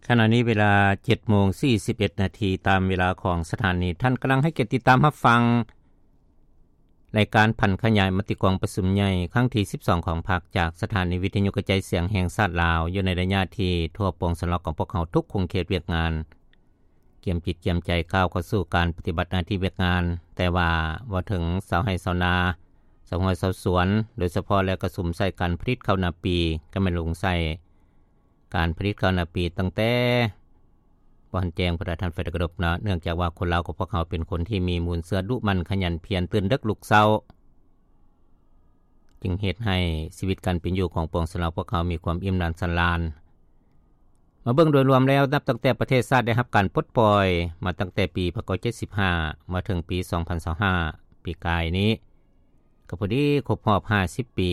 ຂະນະນີ້ເວລາ ເຈັດໂມງສີ່ສິບເອັດນາທີ ຕາມເວລາຂອງສະຖານີ. ທ່ານກຳລັງໃຫ້ກຽດຕິດຕາມຮັບຟັງ ລາຍການຜັນຂະຫຍາຍມະຕິກອງປະຊຸມໃຫຍ່ຄັ້ງທີສິບສອງຂອງພັກ ຈາກສະຖານີວິທະຍຸກະຈາຍສຽງແຫ່ງຊາດລາວ ຢູ່ໃນໄລຍະທີ່ທົ່ວປວງຊົນລາວຂອງພວກເຮົາທຸກຂົງເຂດວຽກງານ ກຽມຈິດກຽມໃຈກ້າວເຂົ້າສູ່ການປະຕິບັດໜ້າທີ່ວຽກງານ. ແຕ່ວ່າເວົ້າເຖິງຊາວໄຮ່ຊາວນາ, ຊາວຮວຍຊາວສວນ, ໂດຍສະເພາະແລ້ວກະສຸມໃສ່ການຜະລິດເຂົ້ານາປີ, ກະແມ່ນລົງໃສ່ການຜະລິດເຂົ້ານາປີຕັ້ງແຕ່ບໍ່ທັນແຈ້ງພຸ້ນລະທ່ານໄຟຕະກະດົບເນາະ. ເນື່ອງຈາກວ່າຄົນລາວຂອງພວກເຮົາເປັນຄົນທີ່ມີມູນເຊື້ອດຸໝັ່ນຂະຫຍັນພຽນ, ຕື່ນເດິກລຸກເຊົ້າ, ຈຶ່ງເຮັດໃຫ້ຊີວິດການເປັນຢູ່ຂອງປວງຊົນລາວພວກເຮົາມີຄວາມອີ່ມໜຳສຳລານ. ມາເບິ່ງໂດຍລວມແລ້ວ, ນັບຕັ້ງແຕ່ປະເທດຊາດໄດ້ຮັບການປົດປ່ອຍມາຕັ້ງແຕ່ປີພັນເກົ້າເຈັດສິບຫ້າ ມາເຖິງປີສອງພັນຊາວຫ້າ ປີກາຍນີ້ ກໍພໍດີຄົບຮອບຫ້າສິບປີ,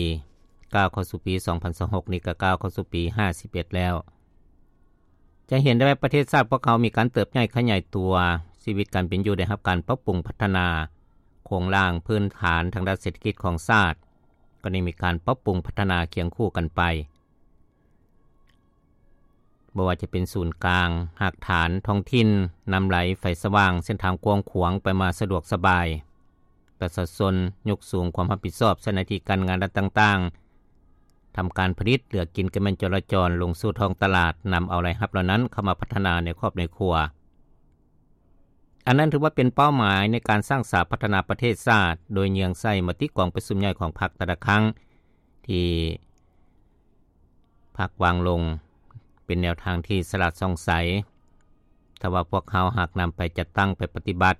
ກ້າວເຂົ້າສູ່ປີສອງພັນຊາວຫົກນີ້ກໍກ້າວເຂົ້າສູ່ປີຫ້າສິບເອັດແລ້ວ. ຈະເຫັນໄດ້ວ່າປະເທດຊາດພວກເຮົາມີການເຕີບໃຫຍ່ຂະຫຍາຍຕົວ, ຊີວິດການເປັນຢູ່ໄດ້ຮັບການປັບປຸງພັດທະນາ, ໂຄງລ່າງພື້ນຖານທາງດ້ານເສດຖະກິດຂອງຊາດ ກໍໄດ້ມີການປັບປຸງພັດທະນາຄຽງຄູ່ກັນໄປ. ບໍ່ວ່າຈະເປັນສູນກາງ, ຮາກຖານ, ທ້ອງຖິ່ນ, ນ້ຳໄຫຼ, ໄຟສະຫວ່າງ, ເສັ້ນທາງກວ້າງຂວາງ, ໄປມາສະດວກສະບາຍ, ປະຊາຊົນຍົກສູງຄວາມຮັບຜິດຊອບໃສ່ໜ້າທີ່ການງານລັດຕ່າງໆ, ທຳການຜະລິດ, ເລືອກກິນກະແມ່ນຈໍລະຈອນ, ລົງສູ່ທ້ອງຕະຫຼາດ, ນຳເອົາລາຍຮັບເຫຼົ່ານັ້ນເຂົ້າມາພັດທະນາໃນຄອບໃນຄົວ. ອັນນັ້ນຖືວ່າເປັນເປົ້າໝາຍໃນການສ້າງສາພັດທະນາປະເທດຊາດ, ໂດຍເຍືອງໃສ່ມະຕິກອງປະຊຸມໃຫຍ່ຂອງພັກແຕ່ລະຄັ້ງ ທີ່ພັກວາງລົງ ເປັນແນວທາງທີ່ສະຫຼາດສ່ອງໃສ. ຖ້າວ່າພວກເຮົາຫາກນຳໄປຈັດຕັ້ງໄປປະຕິບັດ,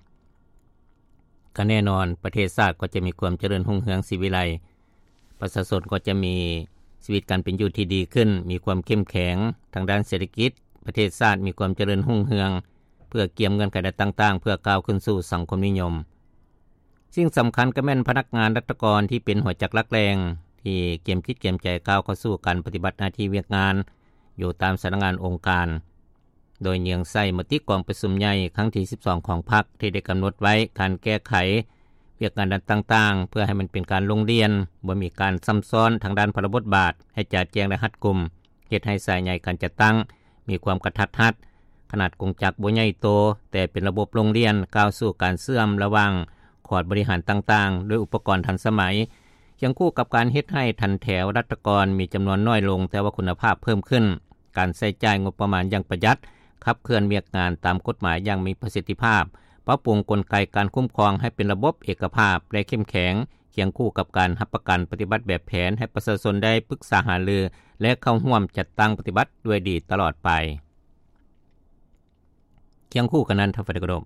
ກໍແນ່ນອນປະເທດຊາດກໍຈະມີຄວາມຈະເລີນຮຸ່ງເຮືອງສີວິໄລ, ປະຊາຊົນກໍຈະມີຊີວິດການເປັນຢູ່ທີ່ດີຂຶ້ນ, ມີຄວາມເຂັ້ມແຂງທາງດ້ານເສດຖະກິດ, ປະເທດຊາດມີຄວາມຈະເລີນຮຸ່ງເຮືອງ ເພື່ອກຽມເງື່ອນໄຂດ້ານຕ່າງໆ ເພື່ອກ້າວຂຶ້ນສູ່ສັງຄົມນິຍົມ. ສິ່ງສຳຄັນກໍແມ່ນພະນັກງານລັດຖະກອນທີ່ເປັນຫົວຈັກຫຼັກແຫຼ່ງ ທີ່ກຽມຈິດກຽມໃຈກ້າວເຂົ້າສູ່ການປະຕິບັດໜ້າທີ່ວຽກງານ ຢູ່ຕາມສຳນັກງານອົງການ, ໂດຍເຍືອງໃສ່ມະຕິກອງປະຊຸມໃຫຍ່ຄັ້ງທີສິບສອງຂອງພັກ ທີ່ໄດ້ກຳນົດໄວ້ການແກ້ໄຂວຽກງານດ້ານຕ່າງໆ ເພື່ອໃຫ້ມັນເປັນການລົງລຽນ, ບໍ່ມີການຊ້ຳຊ້ອນທາງດ້ານພາລະບົດບາດ, ໃຫ້ຈະແຈ້ງ ແລະ ຮັດກຸມ, ເຮັດໃຫ້ສາຍໃຍການຈັດຕັ້ງມີຄວາມກະທັດຮັດ, ຂະໜາດກົງຈັກບໍ່ໃຫຍ່ໂຕ, ແຕ່ເປັນລະບົບລົງລຽນ ກ້າວສູ່ການເຊື່ອມລະຫວ່າງຂອດບໍລິຫານຕ່າງໆ ດ້ວຍອຸປະກອນທັນສະໄໝ, ຄຽງຄູ່ກັບການເຮັດໃຫ້ຖັນແຖວລັດຖະກອນມີຈຳນວນນ້ອຍລົງ ແຕ່ວ່າຄຸນນະພາບເພີ່ມຂຶ້ນ, ການໃຊ້ຈ່າຍງົບປະມານຢ່າງປະຢັດ, ຂັບເຄື່ອນວຽກງານຕາມກົດໝາຍຢ່າງມີປະສິດທິພາບ, ປັບປຸງກົນໄກການຄຸ້ມຄອງໃຫ້ເປັນລະບົບເອກະພາບ ແລະ ເຂັ້ມແຂງ, ຄຽງຄູ່ກັບການຮັບປະກັນປະຕິບັດແບບແຜນໃຫ້ປະຊາຊົນໄດ້ປຶກສາຫາລື ແລະ ເຂົ້າຮ່ວມຈັດຕັ້ງປະຕິບັດດ້ວຍດີຕະຫຼອດໄປ. ຄຽງຄູ່ກັນນັ້ນ ທ່ານໄຟຕະກະດົບ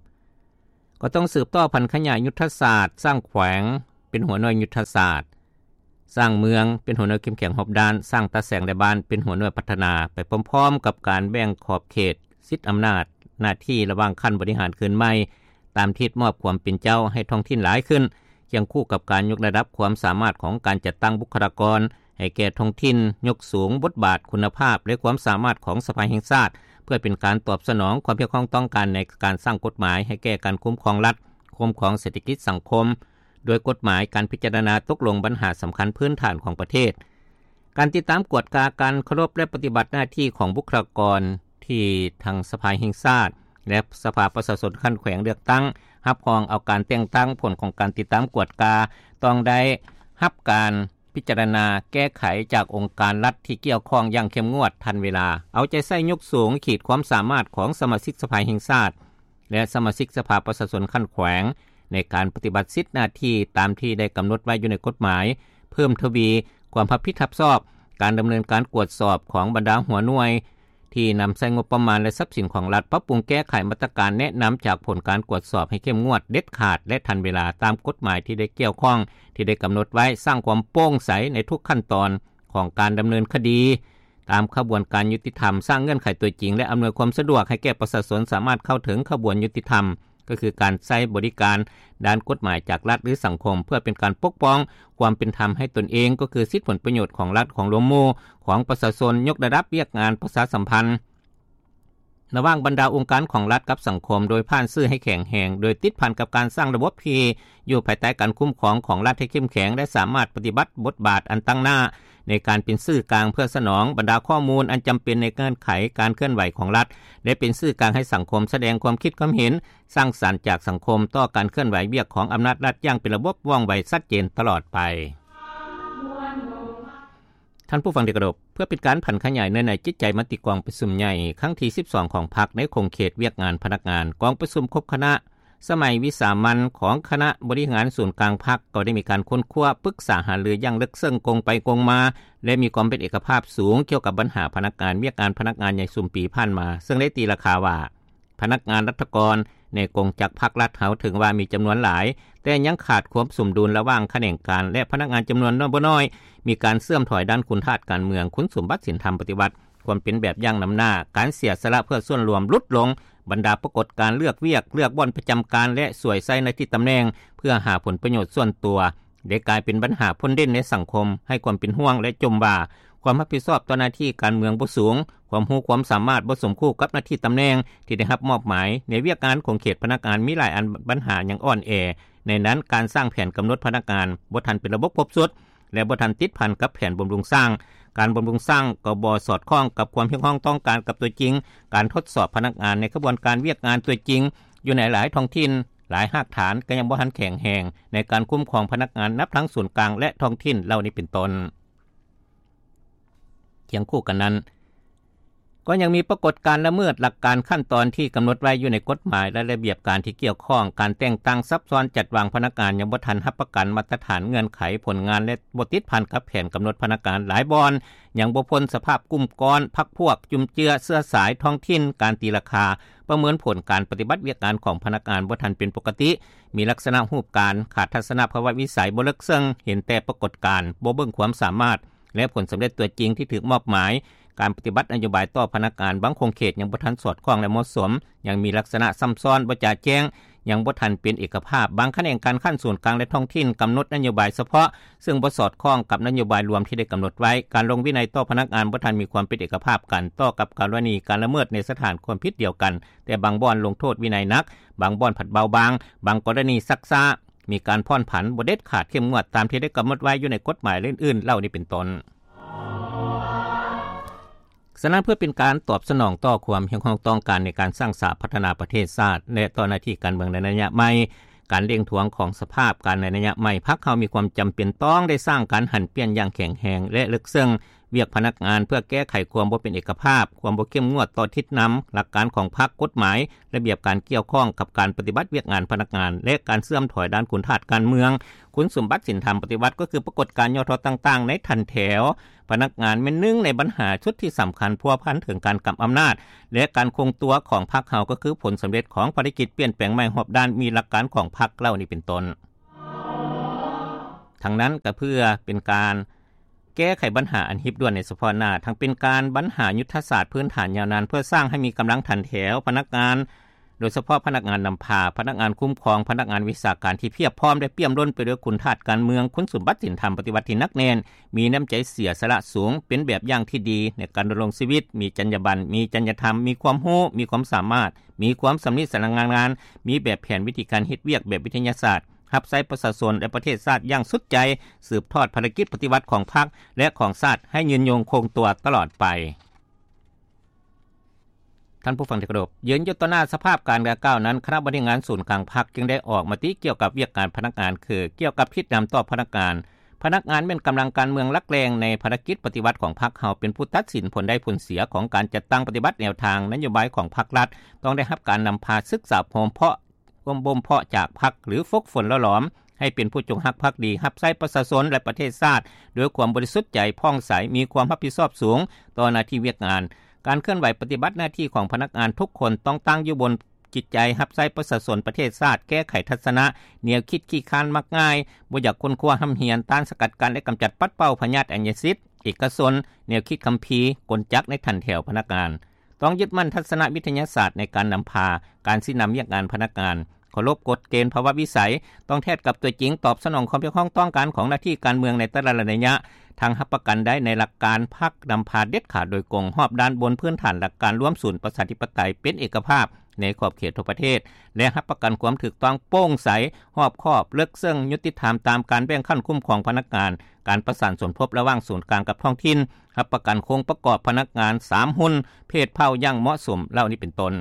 ກໍຕ້ອງສືບຕໍ່ຜັນຂະຫຍາຍຍຸດທະສາດ, ສ້າງແຂວງເປັນຫົວໜ່ວຍຍຸດທະສາດ, ສ້າງເມືອງເປັນຫົວໜ່ວຍເຂັ້ມແຂງຮອບດ້ານ, ສ້າງຕາແສງ ແລະ ບ້ານເປັນຫົວໜ່ວຍພັດທະນາ, ໄປພ້ອມໆກັບການແບ່ງຂອບເຂດສິດອຳນາດໜ້າທີ່ລະຫວ່າງຂັ້ນບໍລິຫານຄືນໃໝ່ ຕາມທິດມອບຄວາມເປັນເຈົ້າໃຫ້ທ້ອງຖິ່ນຫຼາຍຂຶ້ນ, ຄຽງຄູ່ກັບການຍົກລະດັບຄວາມສາມາດຂອງການຈັດຕັ້ງບຸກຄະລາກອນໃຫ້ແກ່ທ້ອງຖິ່ນ, ຍົກສູງບົດບາດ, ຄຸນນະພາບ ແລະ ຄວາມສາມາດຂອງສະພາແຫ່ງຊາດ ເພື່ອເປັນການຕອບສະໜອງຄວາມຮຽກຮ້ອງຕ້ອງການໃນການສ້າງກົດໝາຍໃຫ້ແກ່ການຄຸ້ມຄອງລັດ, ຄຸ້ມຄອງເສດຖະກິດສັງຄົມ ດ້ວຍກົດໝາຍ, ການພິຈາລະນາຕົກລົງບັນຫາສຳຄັນພື້ນຖານຂອງປະເທດ, ການຕິດຕາມກວດກາການເຄົາລົບ ແລະ ປະຕິບັດໜ້າທີ່ຂອງບຸກຄະລາກອນທີ່ທັງສະພາແຫ່ງຊາດ ແລະ ສະພາປະຊາຊົນຂັ້ນແຂວງເລືອກຕັ້ງ, ຮັບຮອງເອົາການແຕ່ງຕັ້ງ, ຜົນຂອງການຕິດຕາມກວດກາຕ້ອງໄດ້ຮັບການພິຈາລະນາແກ້ໄຂຈາກອົງການລັດທີ່ກ່ຽວຂ້ອງຢ່າງເຂັ້ມງວດ, ທັນເວລາ, ເອົາໃຈໃສ່ຍົກສູງຂີດຄວາມສາມາດຂອງສະມາຊິກສະພາແຫ່ງຊາດ ແລະ ສະມາຊິກສະພາປະຊາຊົນຂັ້ນແຂວງ ໃນການປະຕິບັດສິດໜ້າທີ່ຕາມທີ່ໄດ້ກຳນົດໄວ້ຢູ່ໃນກົດໝາຍ, ເພີ່ມທະວີຄວາມຮັບຜິດຮັບຊອບ, ການດຳເນີນການກວດສອບຂອງບັນດາຫົວໜ່ວຍທີ່ນຳໃຊ້ງົບປະມານ ແລະ ຊັບສິນຂອງລັດ, ປັບປຸງແກ້ໄຂມາດຕະການແນະນຳຈາກຜົນການກວດສອບໃຫ້ເຂັ້ມງວດ, ເດັດຂາດ ແລະ ທັນເວລາ ຕາມກົດໝາຍທີ່ໄດ້ກ່ຽວຂ້ອງທີ່ໄດ້ກຳນົດໄວ້, ສ້າງຄວາມໂປ່ງໃສໃນທຸກຂັ້ນຕອນຂອງການດຳເນີນຄະດີ ຕາມຂະບວນການຍຸຕິທຳ, ສ້າງເງື່ອນໄຂຕົວຈິງ ແລະ ອຳນວຍຄວາມສະດວກໃຫ້ແກ່ປະຊາຊົນສາມາດເຂົ້າເຖິງຂະບວນຍຸຕິທຳ, ກໍຄືການໃຊ້ບໍລິການດ້ານກົດໝາຍຈາກລັດ ຫຼື ສັງຄົມ ເພື່ອເປັນການປົກປ້ອງຄວາມເປັນທຳໃຫ້ຕົນເອງ, ກໍຄືສິດຜົນປະໂຫຍດຂອງລັດ, ຂອງລວມໝູ່, ຂອງປະຊາຊົນ, ຍົກລະດັບວຽກງານປະຊາສຳພັນ ລະຫວ່າງບັນດາອົງການຂອງລັດກັບສັງຄົມ ໂດຍຜ່ານສື່ໃຫ້ແຂງແຮງ, ໂດຍຕິດພັນກັບການສ້າງລະບົບທີ່ຢູ່ພາຍໃຕ້ການຄຸ້ມຄອງຂອງລັດໃຫ້ເຂັ້ມແຂງ ແລະ ສາມາດປະຕິບັດບົດບາດອັນຕັ້ງໜ້າ ໃນການເປັນສື່ກາງເພື່ອສະໜອງບັນດາຂໍ້ມູນອັນຈຳເປັນໃນເງື່ອນໄຂການເຄື່ອນໄຫວຂອງລັດ ແລະ ເປັນສື່ກາງໃຫ້ສັງຄົມສະແດງຄວາມຄິດຄວາມເຫັນສ້າງສັນຈາກສັງຄົມຕໍ່ການເຄື່ອນໄຫວວຽກຂອງອຳນາດລັດຢ່າງເປັນລະບົບ, ວ່ອງໄວ, ຊັດເຈນຕະຫຼອດໄປ. ທ່ານຜູ້ຟັງທີ່ເຄົາລົບ, ເພື່ອເປັນການຜັນຂະຫຍາຍເນື້ອໃນຈິດໃຈມະຕິກອງປະຊຸມໃຫຍ່ຄັ້ງທີສິບສອງຂອງພັກໃນຂົງເຂດວຽກງານພະນັກງານ, ກອງປະຊຸມຄົບຄະນະ ສະໄໝວິສາມັນຂອງຄະນະບໍລິຫານສູນກາງພັກ ກໍໄດ້ມີການຄົ້ນຄວ້າປຶກສາຫາລືຢ່າງເລິກເຊິ່ງກົງໄປກົງມາ ແລະ ມີຄວາມເປັນເອກະພາບສູງກ່ຽວກັບບັນຫາພະນັກງານວຽກງານພະນັກງານໃນຊຸມປີຜ່ານມາ, ເຊິ່ງໄດ້ຕີລາຄາວ່າ ພະນັກງານລັດຖະກອນໃນກົງຈັກພັກລັດເຮົາເຖິງວ່າມີຈຳນວນຫຼາຍ, ແຕ່ຍັງຂາດຄວາມສົມດຸນລະຫວ່າງຂະແໜງການ ແລະ ພະນັກງານຈຳນວນບໍ່ນ້ອຍ, ມີການເສື່ອມຖອຍດ້ານຄຸນທາດການເມືອງ, ຄຸນສົມບັດສິນທຳປະຕິວັດ, ຄວາມເປັນແບບຢ່າງນຳໜ້າ, ການເສຍສະຫຼະເພື່ອສ່ວນລວມຫຼຸດລົງ, ບັນດາປາກົດການເລືອກວຽກ, ເລືອກບ່ອນປະຈຳການ ແລະ ສວຍໃຊ້ໜ້າທີ່ຕຳແໜ່ງເພື່ອຫາຜົນປະໂຫຍດສ່ວນຕົວ ໄດ້ກາຍເປັນບັນຫາພົ້ນເດັ່ນໃນສັງຄົມ, ໃຫ້ຄວາມເປັນຫ່ວງ ແລະ ຈົ່ມວ່າຄວາມຮັບຜິດຊອບຕໍ່ໜ້າທີ່ການເມືອງບໍ່ສູງ, ຄວາມຮູ້ຄວາມສາມາດບໍ່ສົມຄູ່ກັບໜ້າທີ່ຕຳແໜ່ງທີ່ໄດ້ຮັບມອບໝາຍ, ໃນວຽກງານຂົງເຂດພະນັກງານມີຫຼາຍອັນບັນຫາຍັງອ່ອນແອ, ໃນນັ້ນການສ້າງແຜນກຳນົດພະນັກງານບໍ່ທັນເປັນລະບົບຄົບຊຸດ ແລະ ບໍ່ທັນຕິດພັນກັບແຜນບຳລຸງສ້າງ, ການບຳລຸງສ້າງກໍບໍ່ສອດຄ່ອງກັບຄວາມຮຽກຮ້ອງຕ້ອງການກັບຕົວຈິງ, ການທົດສອບພະນັກງານໃນຂະບວນການວຽກງານຕົວຈິງ ຢູ່ໃນຫຼາຍທ້ອງຖິ່ນ, ຫຼາຍຮາກຖານກໍຍັງບໍ່ທັນແຂງແຮງໃນການຄຸ້ມຄອງພະນັກງານນັບທັງສູນກາງ ແລະ ທ້ອງຖິ່ນເຫຼົ່ານີ້ເປັນຕົ້ນ. ຄຽງຄູ່ກັນນັ້ນ, ກໍຍັງມີປາກົດການລະເມີດຫຼັກການຂັ້ນຕອນທີ່ກຳນົດໄວ້ຢູ່ໃນກົດໝາຍ ແລະ ລະບຽບການທີ່ກ່ຽວຂ້ອງ, ການແຕ່ງຕັ້ງຊັບຊ້ອນ, ຈັດວາງພະນັກງານຍັງບໍ່ທັນຮັບປະກັນມາດຕະຖານເງື່ອນໄຂຜົນງານ ແລະ ບໍ່ຕິດພັນກັບແຜນກຳນົດພະນັກງານ, ຫຼາຍບ່ອນຍັງບໍ່ພົ້ນສະພາບກຸ່ມກ້ອນ, ພັກພວກ, ຈຸ້ມເຈື້ອ, ເຊື້ອສາຍ, ທ້ອງຖິ່ນ, ການຕີລາຄາ, ປະເມີນຜົນການປະຕິບັດວຽກງານຂອງພະນັກງານບໍ່ທັນເປັນປົກກະຕິ, ມີລັກສະນະຮູບການ, ຂາດທັດສະນະພາວະວິໄສ, ບໍ່ເລິກເຊິ່ງ, ເຫັນແຕ່ປາກົດການ, ບໍ່ເບິ່ງຄວາມສາມາດ ແລະ ຜົນສຳເລັດຕົວຈິງທີ່ຖືກມອບໝາຍ, ການປະຕິບັດນະໂຍບາຍຕໍ່ພະນັກງານບາງຂົງເຂດຍັງບໍ່ທັນສອດຄ່ອງ ແລະ ເໝາະສົມ, ຍັງມີລັກສະນະຊໍ້າຊ້ອນ, ບໍ່ຈະແຈ້ງ, ຍັງບໍ່ທັນເປັນເອກະພາບ, ບາງຂະແໜງການຂັ້ນສູນກາງ ແລະ ທ້ອງຖິ່ນກຳນົດນະໂຍບາຍສະເພາະ ເຊິ່ງບໍ່ສອດຄ່ອງກັບນະໂຍບາຍລວມທີ່ໄດ້ກຳນົດໄວ້, ການລົງວິໄນຕໍ່ພະນັກງານບໍ່ທັນມີຄວາມເປັນເອກະພາບກັນ, ຕໍ່ກັບກໍລະນີການລະເມີດໃນສະຖານຄວາມຜິດດຽວກັນ, ແຕ່ບາງບ່ອນລົງໂທດວິໄນໜັກ, ບາງບ່ອນພັດເບົາບາງ, ບາງກໍລະນີຊັກຊ້າ, ມີການຜ່ອນຜັນ, ບໍ່ເດັດຂາດເຂັ້ມງວດຕາມທີ່ໄດ້ກຳນົດໄວ້ຢູ່ໃນກົດໝາຍ ແລະ ອື່ນໆເຫຼົ່ານີ້ເປັນຕົ້ນ. ສະນັ້ນ ເພື່ອເປັນການຕອບສະໜອງຕໍ່ຄວາມຮຽກຮ້ອງຕ້ອງການໃນການສ້າງສາພັດທະນາປະເທດຊາດ ແລະ ຕໍ່ໜ້າທີ່ການເມືອງໃນໄລຍະໃໝ່, ການເລັ່ງທວງຂອງສະພາບການໃນໄລຍະໃໝ່, ພັກເຮົາມີຄວາມຈຳເປັນຕ້ອງໄດ້ສ້າງການຫັນປ່ຽນຢ່າງແຂງແຮງ ແລະ ເລິກເຊິ່ງວຽກພະນັກງານ ເພື່ອແກ້ໄຂຄວາມບໍ່ເປັນເອກະພາບ, ຄວາມບໍ່ເຂັ້ມງວດຕໍ່ທິດນຳ, ຫຼັກການຂອງພັກ, ກົດໝາຍ, ລະບຽບການກ່ຽວຂ້ອງກັບການປະຕິບັດວຽກງານພະນັກງານ ແລະ ການເສື່ອມຖອຍດ້ານຄຸນທາດການເມືອງ, ຄຸນສົມບັດສິນທຳປະຕິວັດ ກໍຄືປາກົດການຫຍໍ້ທໍ້ຕ່າງໆໃນຖັນແຖວ ພະນັກງານແມ່ນໜຶ່ງໃນບັນຫາຊຸດທີ່ສຳຄັນພົວພັນເຖິງການກຳອຳນາດ ແລະ ການຄົງຕົວຂອງພັກເຮົາ ກໍຄືຜົນສຳເລັດຂອງພາລະກິດປ່ຽນແປງໃໝ່ຮອບດ້ານມີຫຼັກການຂອງພັກເຫຼົ່ານີ້ເປັນຕົ້ນ. ທັງນັ້ນກໍເພື່ອເປັນການແກ້ໄຂບັນຫາອັນຮີບດ່ວນໃນສະເພາະໜ້າ, ທັງເປັນການບັນຫາຍຸດທະສາດພື້ນຖານຍາວນານ ເພື່ອສ້າງໃຫ້ມີກຳລັງຖັນແຖວພະນັກງານ ໂດຍສະເພາະພະນັກງານນຳພາ, ພະນັກງານຄຸ້ມຄອງ, ພະນັກງານວິຊາການທີ່ພຽບພ້ອມ ແລະ ປ່ຽມລົ້ນໄປດ້ວຍຄຸນທາດການເມືອງ, ຄຸນສົມບັດສິນທຳປະຕິວັດທີ່ໜັກແໜ້ນ, ມີນ້ຳໃຈເສຍສະຫຼະສູງ, ເປັນແບບຢ່າງທີ່ດີໃນການດຳລົງຊີວິດ, ມີຈັນຍາບັນ, ມີຈັນຍາທຳ, ມີຄວາມຮູ້, ມີຄວາມສາມາດ, ມີຄວາມຊຳນິຊຳນານງານ, ມີແບບແຜນວິທີການເຮັດວຽກແບບວິທະຍາສາດ, ຮັບໃຊ້ປະຊາຊົນ ແລະ ປະເທດຊາດຢ່າງສຸດໃຈ, ສືບທອດພາລະກິດປະຕິວັດຂອງພັກ ແລະ ຂອງຊາດໃຫ້ຍືນຍົງຄົງຕົວຕະຫຼອດໄປ. ທ່ານຜູ້ຟັງທີ່ເຄົາລົບ, ຢືນຢູ່ຕໍ່ໜ້າສະພາບການດັ່ງກ່າວນັ້ນ, ຄະນະບໍລິຫານສູນກາງພັກຈຶ່ງໄດ້ອອກມະຕິກ່ຽວກັບວຽກງານພະນັກງານ ຄື ກ່ຽວກັບທິດນຳຕໍ່ພະນັກງານ. ພະນັກງານແມ່ນກຳລັງການເມືອງຫຼັກແຫຼ່ງໃນພາລະກິດປະຕິວັດຂອງພັກເຮົາ, ເປັນຜູ້ຕັດສິນຜົນໄດ້ຜົນເສຍຂອງການຈັດຕັ້ງປະຕິບັດແນວທາງນະໂຍບາຍຂອງພັກລັດ, ຕ້ອງໄດ້ຮັບການນຳພາສຶກສາພົມເພາະ ບົ່ມບໍ່ມເພາະຈາກພັກ ຫຼື ຝຶກຝົນຫຼໍ່ຫຼອມໃຫ້ເປັນຜູ້ຈົງຮັກພັກດີ, ຮັບໃຊ້ປະຊາຊົນ ແລະ ປະເທດຊາດດ້ວຍຄວາມບໍລິສຸດໃຈ, ຜ່ອງໃສ, ມີຄວາມຮັບຜິດຊອບສູງຕໍ່ໜ້າທີ່ວຽກງານ. ການເຄື່ອນໄຫວປະຕິບັດໜ້າທີ່ຂອງພະນັກງານທຸກຄົນຕ້ອງຕັ້ງຢູ່ບົນຈິດໃຈຮັບໃຊ້ປະຊາຊົນ, ປະເທດຊາດ, ແກ້ໄຂທັດສະນະ, ແນວຄິດຂີ້ຄ້ານມັກງ່າຍ, ບໍ່ຢາກຄົ້ນຄວ້າຮ່ຳຮຽນ, ຕ້ານສະກັດກັ້ນ ແລະ ກຳຈັດປັດເປົ່າພະຍາດອາຍະສິດເອກະຊົນ, ແນວຄິດຄຳພີ, ກົນຈັກໃນຖັນແຖວພະນັກງານ. ຕ້ອງຍຶດໝັ້ນທັດສະນະວິທະຍາສາດໃນການນຳພາ, ການຊີ້ນຳວຽກງານພະນັກງານ, ເຄົາລົບກົດເກນພາວະວິໄສ, ຕ້ອງແທດກັບຕົວຈິງ, ຕອບສະໜອງຄວາມຮຽກຮ້ອງຕ້ອງການຂອງໜ້າທີ່ການເມືອງໃນແຕ່ລະໄລຍະ, ທັງຮັບປະກັນໄດ້ໃນຫຼັກການພັກນຳພາເດັດຂາດໂດຍກົງ, ຮອບດ້ານບົນພື້ນຖານຫຼັກການລວມສູນປະຊາທິປະໄຕເປັນເອກະພາບ, ໃນຂອບເຂດທົ່ວປະເທດ ແລະ ຮັບປະກັນຄວາມຖືກຕ້ອງ, ໂປ່ງໃສ, ຮອບຄອບ, ເລິກເຊິ່ງ, ຍຸຕິທຳຕາມການແບ່ງຂັ້ນຄຸ້ມຄອງພະນັກງານ, ການປະສານສົມທົບລະຫວ່າງສູນກາງກັບທ້ອງຖິ່ນ, ຮັບປະກັນໂຄງປະກອບພະນັກງານສາມຮຸ່ນ, ເພດເຜົ່າຢ່າງເໝາະສົມ ເຫຼົ່ານີ້ເປັນຕົ້ນ.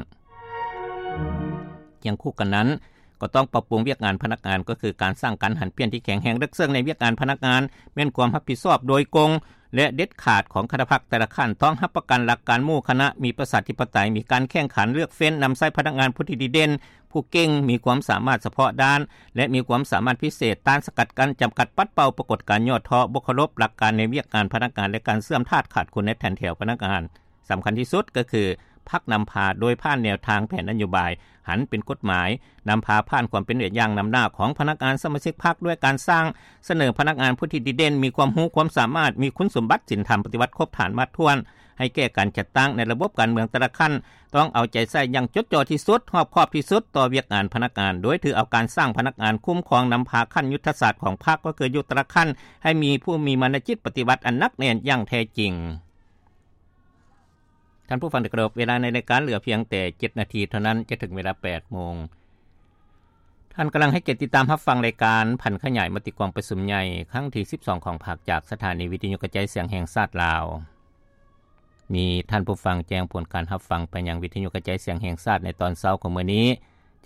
ຄຽງຄູ່ກັນນັ້ນ, ກໍຕ້ອງປັບປຸງວຽກງານພະນັກງານ, ກໍຄືການສ້າງການຫັນປ່ຽນທີ່ແຂງແຮງເລິກເຊິ່ງໃນວຽກງານພະນັກງານ, ແມ່ນຄວາມຮັບຜິດຊອບໂດຍກົງ ແລະ ເດັດຂາດຂອງຄະນະພັກແຕ່ລະຂັ້ນ, ຕ້ອງຮັບປະກັນຫຼັກການໝູ່ຄະນະ, ມີປະຊາທິປະໄຕ, ມີການແຂ່ງຂັນເລືອກເຟ້ນນຳໃຊ້ພະນັກງານຜູ້ທີ່ດີເດັ່ນ, ຜູ້ເກັ່ງ, ມີຄວາມສາມາດສະເພາະດ້ານ ແລະ ມີຄວາມສາມາດພິເສດ, ຕ້ານສະກັດກັ້ນ, ຈຳກັດປັດເປົ່າປາກົດການຫຍໍ້ທໍ້, ບໍ່ເຄົາລົບຫຼັກການໃນວຽກງານພະນັກງານ ແລະ ການເສື່ອມທາດຂາດຄຸນໃນແຖນແຖວພະນັກງານ. ສຳຄັນທີ່ສຸດກໍຄື ພັກນຳພາໂດຍຜ່ານແນວທາງແຜນນະໂຍບາຍ ຫັນເປັນກົດໝາຍ, ນຳພາຜ່ານຄວາມເປັນແບບຢ່າງນຳໜ້າຂອງພະນັກງານສະມາຊິກພັກ ດ້ວຍການສ້າງສະເໜີພະນັກງານຜູ້ທີ່ດີເດັ່ນ, ມີຄວາມຮູ້ຄວາມສາມາດ, ມີຄຸນສົມບັດສິນທຳປະຕິວັດຄົບຖ້ວນໝົດຖ້ວນ ໃຫ້ແກ່ການຈັດຕັ້ງໃນລະບົບການເມືອງແຕ່ລະຂັ້ນ, ຕ້ອງເອົາໃຈໃສ່ຢ່າງຈົດຈໍ່ທີ່ສຸດ, ຮອບຄອບທີ່ສຸດຕໍ່ວຽກງານພະນັກງານ, ໂດຍຖືເອົາການສ້າງພະນັກງານຄຸ້ມຄອງນຳພາຂັ້ນຍຸດທະສາດຂອງພັກ ກໍຄືຢູ່ແຕ່ລະຂັ້ນ ໃຫ້ມີຜູ້ມີມານະຈິດປະຕິວັດອັນໜັກແໜ້ນຢ່າງແທ້ຈິງ. ທ່ານຜູ້ຟັງທີ່ເຄົາລົບ, ເວລາໃນລາຍການເຫຼືອພຽງແຕ່ເຈັດນາທີເທົ່ານັ້ນ ຈະເຖິງເວລາແປດໂມງ. ທ່ານກຳລັງໃຫ້ກຽດຕິດຕາມຮັບຟັງລາຍການຜັນຂະຫຍາຍມະຕິກອງປະຊຸມໃຫຍ່ຄັ້ງທີສິບສອງຂອງພັກ ຈາກສະຖານີວິທະຍຸກະຈາຍສຽງແຫ່ງຊາດລາວ. ມີທ່ານຜູ້ຟັງແຈ້ງຜົນການຮັບຟັງໄປຍັງວິທະຍຸກະຈາຍສຽງແຫ່ງຊາດໃນຕອນເຊົ້າຂອງມື້ນີ້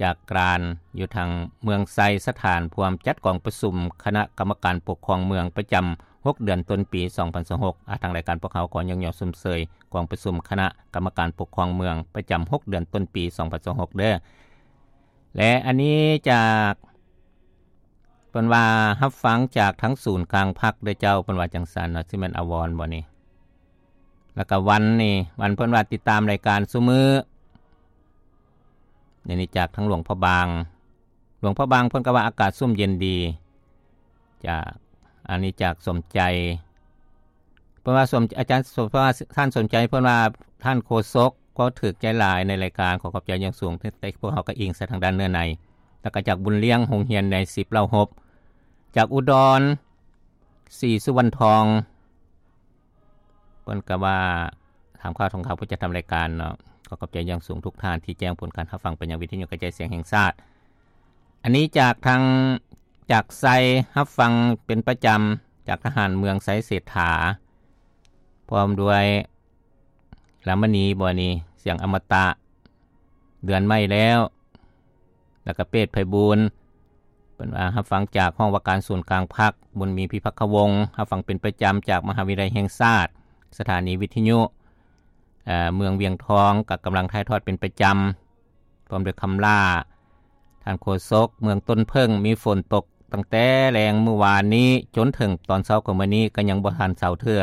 ຈາກການຢູ່ທາງເມືອງໄຊສະຖານ ພວມຈັດກອງປະຊຸມຄະນະກຳມະການປົກຄອງເມືອງປະຈຳຫົກເດືອນຕົ້ນປີສອງພັນຊາວຫົກ. ອາ ທາງລາຍການພວກເຮົາຂໍຍ້ອງຍໍຊົມເຊີຍກອງປະຊຸມຄະນະກຳມະການປົກຄອງເມືອງປະຈຳຫົກເດືອນຕົ້ນປີສອງພັນຊາວຫົກເດີ້. ແລະ ອັນນີ້ຈາກ ເພິ່ນວ່າຮັບຟັງຈາກທາງສູນກາງພັກເດີ້ເຈົ້າ, ເພິ່ນວ່າຈັ່ງຊັ້ນເນາະ, ຊິແມ່ນອາວອນບໍ່ນີ້? ແລ້ວກໍວັນນີ້, ວັນເພິ່ນວ່າຕິດຕາມລາຍການຊຸມື້. ອັນນີ້ຈາກທາງຫຼວງພະບາງ, ຫຼວງພະບາງເພິ່ນກໍວ່າອາກາດຊຸ່ມເຢັນດີ. ຈາກ ອັນນີ້ຈາກສົມໃຈ, ເພິ່ນວ່າສົມ ອາຈານສົມ ເພິ່ນວ່າທ່ານສົມໃຈ, ເພິ່ນວ່າທ່ານໂຄສົກກໍຖືກໃຈຫຼາຍໃນລາຍການ, ຂໍຂອບໃຈຢ່າງສູງ, ແຕ່ພວກເຮົາກໍອີງໃສ່ທາງດ້ານເນື້ອໃນ. ແລ້ວກໍຈາກບຸນລ້ຽງ ໂຮງຮຽນໃນສິບເລົ່າຮົບ, ຈາກອຸດອນ ສີສຸວັນທອງ, ເພິ່ນກໍວ່າຖາມຂ່າວ ທ່ານຜູ້ຈັດທຳລາຍການເນາະ, ຂໍຂອບໃຈຢ່າງສູງທຸກທ່ານທີ່ແຈ້ງຜົນການຮັບຟັງໄປຍັງວິທະຍຸກະຈາຍສຽງແຫ່ງຊາດ. ອັນນີ້ຈາກທາງ ຈາກໄຊ ຮັບຟັງເປັນປະຈຳຈາກທະຫານເມືອງໄຊເສດຖາ, ພ້ອມດ້ວຍລາມະນີ ບໍ່ນີ້ ສຽງອະມະຕະ, ເດືອນໃໝ່ແລ້ວ, ແລ້ວກໍເປດໄພບູນ. ເພິ່ນວ່າຮັບຟັງຈາກຫ້ອງວ່າການສູນກາງພັກ, ບຸນມີພິພັກຄະວົງ, ຮັບຟັງເປັນປະຈຳຈາກມະຫາວິທະຍາໄລແຫ່ງຊາດ, ສະຖານີວິທະຍຸ ເອີ ເມືອງວຽງທອງ ກໍກຳລັງຖ່າຍທອດເປັນປະຈຳ. ພ້ອມດ້ວຍຄຳຫຼ້າ, ທ່ານໂຄສົກເມືອງຕົ້ນເຜິ້ງ, ມີຝົນຕົກຕັ້ງແຕ່ແລງມື້ວານນີ້ຈົນເຖິງຕອນເຊົ້າຂອງມື້ນີ້ກໍຍັງບໍ່ທັນເຊົາເທື່ອ,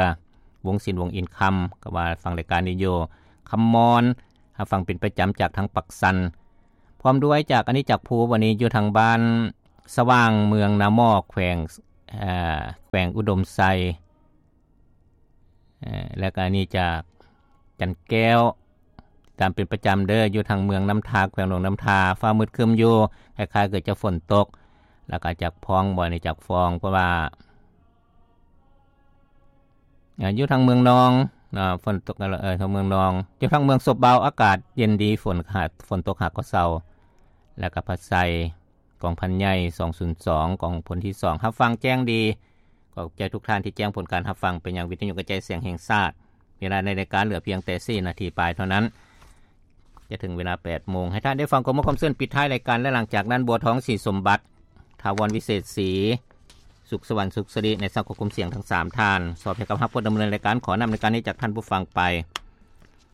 ວົງສິນ ວົງອິນຄຳ ກໍວ່າຟັງລາຍການນີ້ຢູ່, ຄຳມອນ ຮັບຟັງເປັນປະຈຳຈາກທາງປາກຊັນ, ພ້ອມດ້ວຍຈາກ ອັນນີ້ຈາກພູ ວັນນີ້ຢູ່ທາງບ້ານສະຫວ່າງ ເມືອງນາໝໍ້ ແຂວງ ເອີ ແຂວງອຸດົມໄຊ. ເອີ ແລ້ວກໍອັນນີ້ຈາກຈັນແກ້ວ ຕາມເປັນປະຈຳເດີ້, ຢູ່ທາງເມືອງນ້ຳທາ ແຂວງຫຼວງນ້ຳທາ, ຟ້າມືດຄຶ້ມຢູ່, ຄ້າຍໆຄືຈະຝົນຕົກ. ແລ້ວກໍຈາກຟອງ ບໍ່ນີ້ຈາກຟອງ, ເພາະວ່າ ເອີ ຢູ່ທາງເມືອງນອງເນາະ, ຝົນຕົກ ເອີ ທາງເມືອງນອງ, ຢູ່ທາງເມືອງສົບເບົາ ອາກາດເຢັນດີ, ຝົນຫາ ຝົນຕົກຫາກໍເຊົາ. ແລ້ວກໍພັດໄຊ ກອງພັນໃຫຍ່ ສອງສູນສອງ ກອງພົນທີສອງ ຮັບຟັງແຈ້ງດີ. ຂອບໃຈທຸກທ່ານທີ່ແຈ້ງຜົນການຮັບຟັງໄປຍັງວິທະຍຸກະຈາຍສຽງແຫ່ງຊາດ. ເວລາໃນລາຍການເຫຼືອພຽງແຕ່ສີ່ນາທີປາຍເທົ່ານັ້ນ ຈະເຖິງເວລາແປດໂມງ. ໃຫ້ທ່ານໄດ້ຟັງຄວາມມ່ວນຄວາມຊື່ນປິດທ້າຍລາຍການ ແລະ ຫຼັງຈາກນັ້ນ ບົວທອງ ສີສົມບັດ, ຖາວອນ ວິເສດສີ, ສຸກສະຫວັນ ສຸກສະລິ ໃນສັງຄົມສຽງທັງສາມທ່ານ. ສອບໃຫ້ກັບຮັບຜູ້ດຳເນີນລາຍການ ຂໍນຳລາຍການນີ້ຈາກທ່ານຜູ້ຟັງໄປ.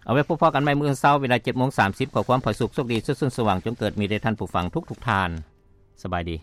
ເອົາໄວ້ພົບພໍ້ກັນໃໝ່ມື້ອື່ນເຊົ້າ ເວລາເຈັດໂມງສາມສິບ. ຂໍຄວາມຜາສຸກ ໂຊກດີ ສຸກຊື່ນ ສະຫວ່າງ ຈົ່ງເກີດມີແດ່ທ່ານຜູ້ຟັງທຸກໆທ່ານ. ສະບາຍດີ.